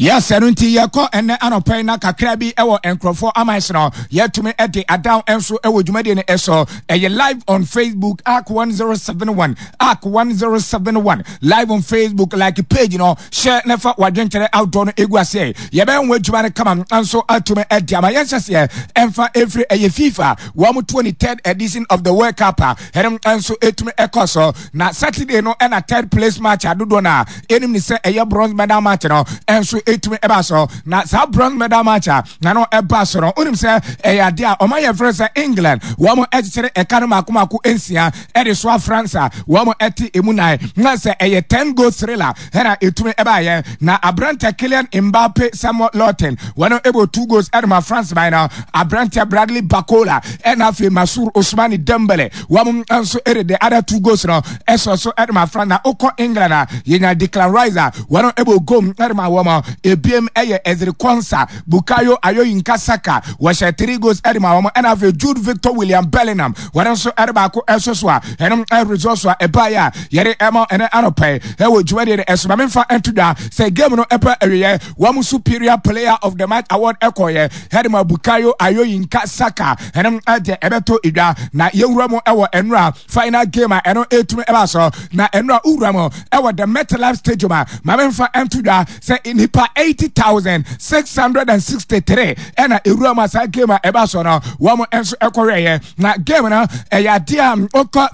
Yes, ɛno nti yɛkɔ ɛnɛ anɔpa yi na kakra bi ɛwɔ nkurɔfoɔ aman so no yɛtumi ɛde adown nso ɛwɔ dwumadie no ɛso. Ɛyɛ live on Facebook, Ark 1071, Ark 1071 live on Facebook. Like page no, hyɛ na fa wadwenkyerɛ outdoor no egu aseɛ. Yɛbɛyɛ ho adwuma no kama nso atumi ɛde ama yɛn hyɛseɛ ɛmfa ɛfiri ɛyɛ FIFA wɔn 23rd edition of the World Cup a ɛno nso ɛtumi ɛkɔ so. Na Saturday no ɛna third place match adodoɔ no a ɛnim ne sɛ ɛyɛ bronze medal match no ɛnso ɛtumi ɛba so. Na saa bronze medal match a na no ɛba so no, wonim sɛ ɛyɛ adeɛ a ɔma yɛfrɛ sɛ England wɔn ɛkyekyere ɛka no mako mako 6 ɛde soa France a wɔn ɛte emu 4, na sɛ ɛyɛ 10 goal thriller ɛna ɛtumi ɛbaayɛ. Na aberante Kylian Mbappe Samuel Lottin wɔn ɛbɔ 2 goals ɛde ma France man no. Aberante Bradley Barcola ɛna afei Masur Ousmane Dembele wɔn nso ɛde the other 2 goals no ɛsɔ so ɛde ma France. Na okɔ England a, yɛnya Declan Rice a wɔn ɛbɔ goal ɛde ma wɔn. Ebiem ɛyɛ Ezri Konsa, Bukayo Ayoyinka Saka wɔhyɛ 3 goals ɛde ma wɔn, ɛna afei Jude Victor William Bellingham wɔn nso ɛde baako ɛso so a ɛnom ɛresɔ so a ɛbaeɛ a yɛde ɛma ɛnɛ anɔpɛ ɛwɔ dwumadie no ɛso. Maame nfa ɛnto dwa sɛ game no ɛpɛ awieɛ, wɔn superior player of the match award ɛkɔɔyɛ ɛde ma Bukayo Ayoyinka Saka. Ɛnom ɛde ɛbɛtɔ edwa na yɛwura mu ɛwɔ ɛnura final game a ɛno ɛtumi ɛba so. Na ɛnura wura mu ɛwɔ the MetLife Stadium a, maame nfa ɛnto dwa sɛ nipa 80,663 ɛna ewura mu a saa game a ɛba so no wɔn nso ɛkɔhwɛeɛ. Na game no ɛyɛ adeɛ a ɔkɔ